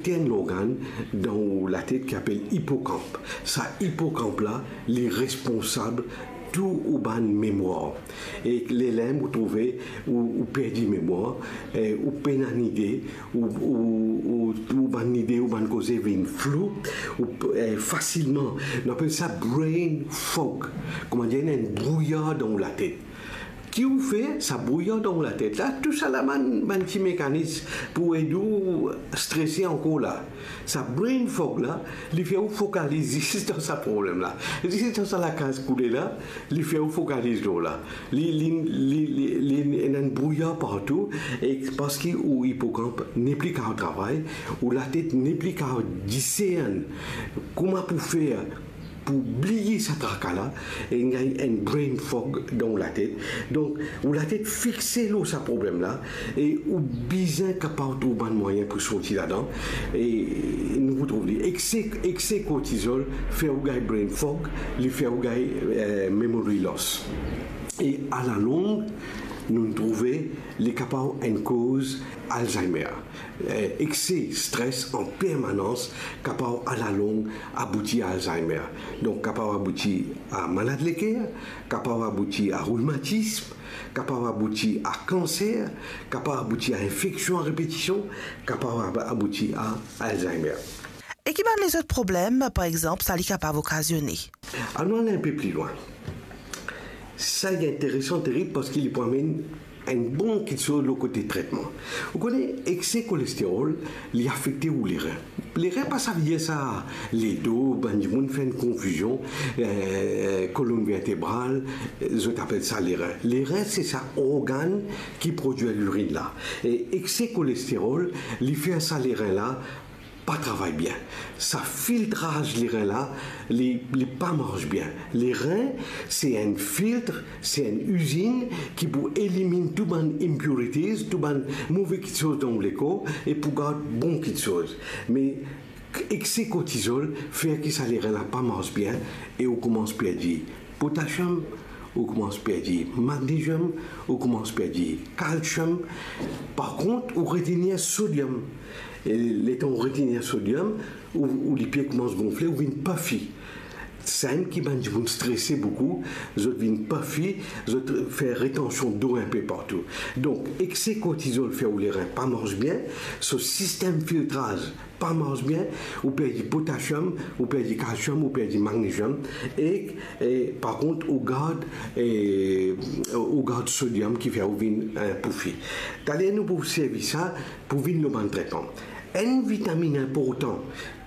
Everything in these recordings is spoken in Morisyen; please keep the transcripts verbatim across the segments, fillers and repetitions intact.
Ti enn lorgann dan ou latet ki apel ipokanp. Sa ipokanp la, li responsab tou ou bann memwar. E lerla ou trouve ou, ou perdi memwar, e ou pena nide, ou, ou, ou, ou bann nide, ou bann koze vinn flou, ou, e, fasilman. Nou apel sa brain fog. Kouma dir, enn brouyar dan ou latet. Ki ou fer, sa brouyar dan ou latet la, tou sa la bann, bann ti mekanis pou ed ou strese ankor la. Sa brain fog la, li fer ou fokaliz zis dan sa problem la. Zis dan sa lakaz koule la, li fer ou fokaliz lor la. Li, li, li, li, li, li ena enn brouyar partou, e parski ou ipokanp nepli kapav travay, ou latet nepli kapav discern kouma pou fer pou bliye sa traka la, e gagn enn brain fog dan ou latet. Donk, ou latet fixe lor sa problem la, e ou bizin kapav trouv bann mwayin pou sorti ladan. E nou pou trouv li. Ekse, ekse kortizol fer ou gagn brain fog, li fer ou gagn, eh, memory loss. E alalong, nou trouve li kapav enn koz Alzheimer. Eh, ekse stres an permanans kapav alalong abouti a Alzheimer. Donk, kapav abouti a malad leker, kapav abouti a rimatism, kapav abouti a kanser, kapav abouti a infeksion a repetision, kapav ab-, abouti a Alzheimer. E ki bann lezot problem, par exanp, sa li kapav okazione? Anou al enn pe pli lwin. Sa li interesan terib parski li pou amenn enn bon kiksoz lor kote tretman. Ou kone, ekse kolesterol, li afekte ou lerin. Lerin pa savedir sa ledo, bann dimoun fer enn konfizion, eh, kolonn vertebral, zot apel sa lerin. Lerin, se sa organn ki prodwir lirin la. E ekse kolesterol, li fer sa lerin la pa travay bien. Sa filtraz lerin la, li, li pa mars bien. Lerin, se enn filtre, se enn izinn ki pou eliminn tou bann impurities, tou bann move kiksoz dan ou lekor, e pou gard bon kiksoz. Me ekse kortizol fer ki sa lerin la pa mars bien, e ou koumans perdi potasiom, ou koumans perdi magneziom, ou koumans perdi kalsiom. Par kont, ou retenir sodiom. E letan ou retenir sodiom, ou, ou lipie koumans gonfle, ou vinn puffy. Samem ki bann dimoun strese boukou, zot vinn puffy, zot fer retansion dlo inpe partou. Donk, ekse kortizol fer ou lerin pa mars bien, so sistem filtraz pa mars bien, ou perdi potasiom, ou perdi kalsiom, ou perdi magneziom, e, e par kont, ou gard, e, ou gard sodiom ki fer ou vinn, eh, puffy. Taler nou pou servi sa pou vinn lor bann tretman. Enn vitaminn inportan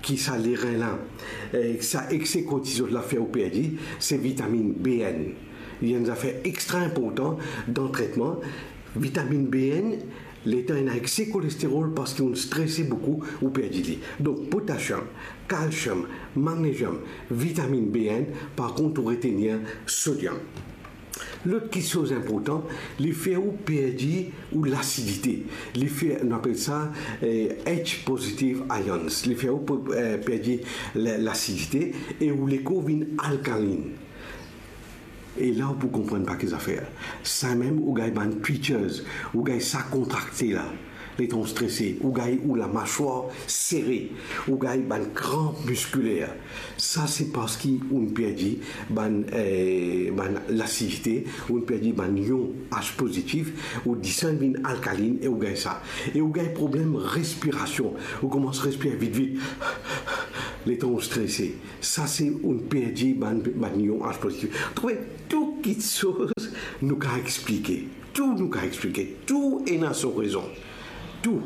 ki sa lerin la, eh, sa ekse kortizol la fer ou perdi, se vitaminn B N. Li enn zafer extra inportan dan tretman. Vitaminn B N, letan ena ekse kolesterol parski ou strese boukou, ou perdi li. Donk, potasiom, kalsiom, magneziom, vitaminn B N, par kont, ou retenir sodiom. Lot kiksoz inportan, li fer ou perdi ou lasidite. Li fer, nou apel sa, eh, H positive ions. Li fer ou pe-, eh, perdi la-, lasidite e ou lekor vinn alkalinn. E la ou pou konprann pa ki zafer. Samem ou gagn bann twitches, ou gagn sa kontrakte la. Letan ou strese, ou gagn ou lamaswar sere, ou gagn bann kranp miskiler. Sa se parski ou perdi bann, eh, bann lasidite, ou perdi bann ion H pozitif, ou disann vinn alkalinn e ou gagn sa. E ou gagn problem respirasion, ou koumans respir vit vit. Letan ou strese, sa se ou perdi bann, bann ion H pozitif. Trouve, tou kiksoz nou kav explike. Tou nou kav explike. Tou ena so rezon. Tou.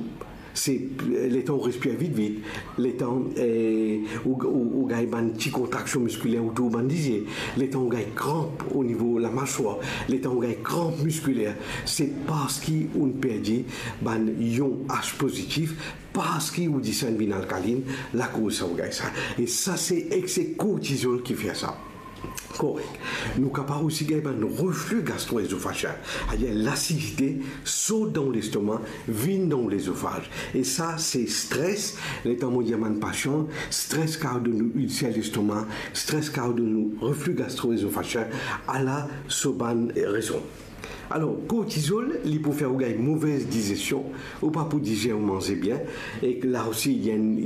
Se, eh, letan ou respir vit vit, letan, eh, ou, ou, ou gagn bann ti kontraksion miskiler otour bann lizie, letan ou gagn kranp o nivo lamaswar, letan ou gagn kranp miskiler, se parski ou perdi bann ion H pozitif, parski ou disann vinn alkalinn, lakoz sa ou gagn sa. E sa se ekse kortizol ki fer sa. Korek. Nou kapav osi gagn bann refli gastro-ezofagyen. Savedir lasidite sort dan lestoma, vinn dan lezofaz. E sa, se stres. Letan mo dir bann pasian, stres kav donn ou ilser lestoma, stres kav donn ou refli gastro-ezofagyen. Ala so bann rezon. Alor, kortizol, li pou fer ou gagn move dizestion, ou pa pou dizer ou manze bien, e la osi, li enn,